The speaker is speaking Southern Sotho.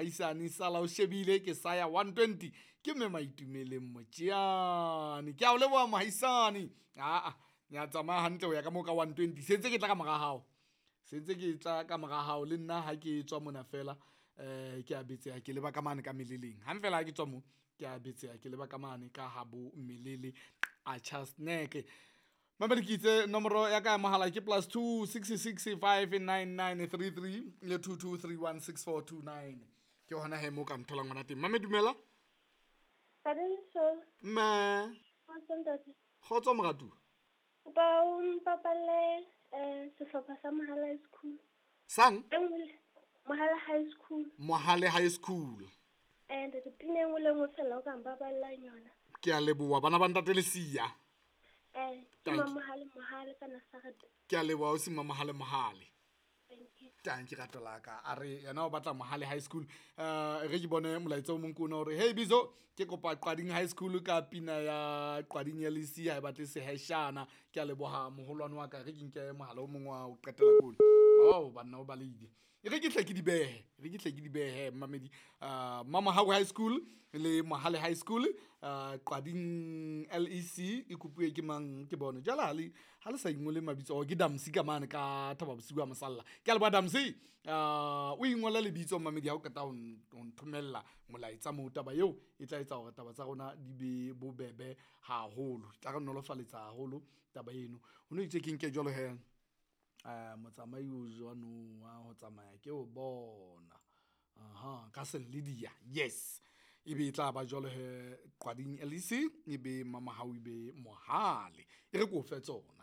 Mohaisane sala o shebile ke saya 120 ke mme Maitumeleng Motjeane. Ke a o leboha mohaisane. Aa ya tsamaya hantle ho ya ka moo ka 120 sentse ke tla ka mora hao, sentse ke tla ka mora hao le nna ha ke tswa mona fela ke a betseha ke leba ka mane ka meleleng. Hang fela ha ke tswa mo ke a betseha ke leba ka mane ka habo melele atjha snack. Mamedi ke itse nomoro ya ka ya mohala ke +2 66 599 33 le 22 31 6429. Ke hona he mo ka ntholang hona teng. Mame dumela. Thabiso, Mme kgotso ntate. kgotso moratuwa. Kopa o mpapalle sehlopha sa Mohale High School. Sang E nngwe le Mohale High School. Mohale High School. Ntate pina e nngwe le nngwe fela o ka mpapallang yona. Ke a leboha bana ba ntate Lesia. Ke Thank you. Mamohale Mohale ka Nazareth. Ke a leboha o se Mamohale Mohale. Thank you. Tang ke rato la ka. A re yena o batla Mohale High School. Re ke bone molaetsa o mong ke ona hore hey Bizo ke kopa Qwading High School ka pina ya Qwading ya Lesia ha e batle seheshana. Ke a leboha moholwane wa ka, re ke nke mohala o mong wa ho qetela kone. Oh banna o baleile. E re ke hle ke di behe, re ke hle ke di behe mmamedi. Mamohau High School le Mohale High School, Qwading LEC e kopuwe ke mang ke bone. Jwale ha le sa ingole mabitso, oh, ke Damsi ka mane ka Thaba Bosiu a Mosalla. Ke a leboha Damsi. O ingole lebitso mmamedi ha o qeta ho nthomella molaetsa moo, taba eo e tla etsa hore taba tsa rona di be bobebe haholo. Tla re nolofaletsa haholo taba eno. Ho no itse ke nke jwalo he. Motsamai o jwano wa ho tsamaya ke o bona. Aha, ka Selidia. Yes. Ebe e tla ba jwalo he Qwading LEC, ebe Mamohau ebe Mohale. E re ke o fe tsona.